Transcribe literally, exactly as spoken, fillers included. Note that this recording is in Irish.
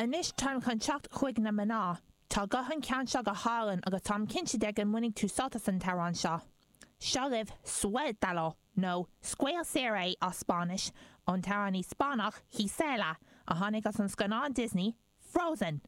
Anois táim chun teacht chuig na mná. Tá guth an cheann seo go hálainn agus táim cinnte de go mbainfidh tú sult as an t-amhrán seo. Seo libh Suéltalo nó Scaoil Saor é as Spáinnis ón t-amhránaí Spáinneach Gisela a tháinig as an scannán Disney Frozen.